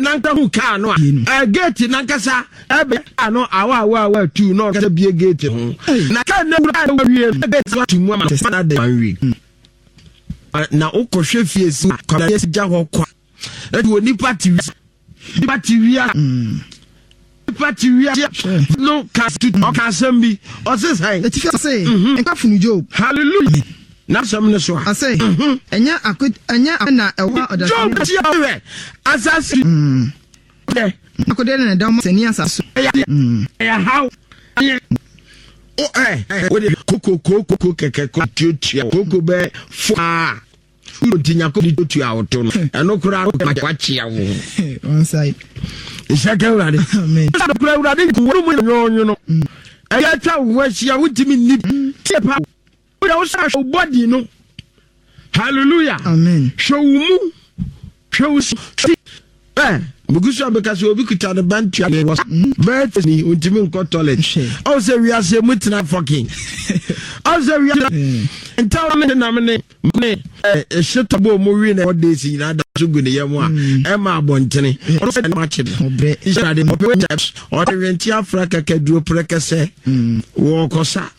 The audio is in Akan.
Nanka hu kaa no a, gate nankasa ɛbɛ kaa no awa awa awa tu na ɔkasa bie gate ho. Na kaa na wura na wie gate no ato mu ama no na de one week. Na wokɔhwɛ fie si kwabena yɛ si gya hɔ kwa. Ɛti wɔ nipa te wia nipa te wia nipa te wia no ka ɔka asɛm bi ɔse sɛn. Etifi ase nka funu Job. Hallelujah. N'asɛm no so a. Ɔse, Ɛnyɛ ako, ɛnyɛ ako na ɛwɔ ɔdasani. Job ti a ɔhwɛ asase. Dɛ. Akode na ɛda ɔmo sani asase so. Ɛyɛ ɛyɛ haw. O ɛ o de koko koko kɛkɛ ko tuatua koko bɛ fo aa. Wuro nti nyako de tuatua wo to no. Ɛno koraa wakyea wo. One side. Nhyɛ ka Awurade. Amen. Kura Awurade wɔn mu nyɔnyono. Ɛyɛ atwa wo ho ahyia wotumi nni. Tie pa. Wode wo sa hwɛ wo body no. Hallelujah. Amen. Hwɛ wo mu. Hwɛ wo si. Ɛ megu so abɛka sɛ obi kuta ne ba ntua ne wɔ bɛɛ ni ontumi nkɔ toilet. Ɔwɔ sɛ wiase mu tena fɔkin. Ɔwɔ sɛ wiase ntaw ne nam ne ne ɛhyɛ tɔbɔ mu wi na ɛwɔ days nyinaa da so gu ne yam a ɛma abɔntene. Ɔno sɛ ɛma akye no. Ɔpɛ ɔde wɛnti afra kɛkɛ duro prɛkɛsɛ wɔkɔsa.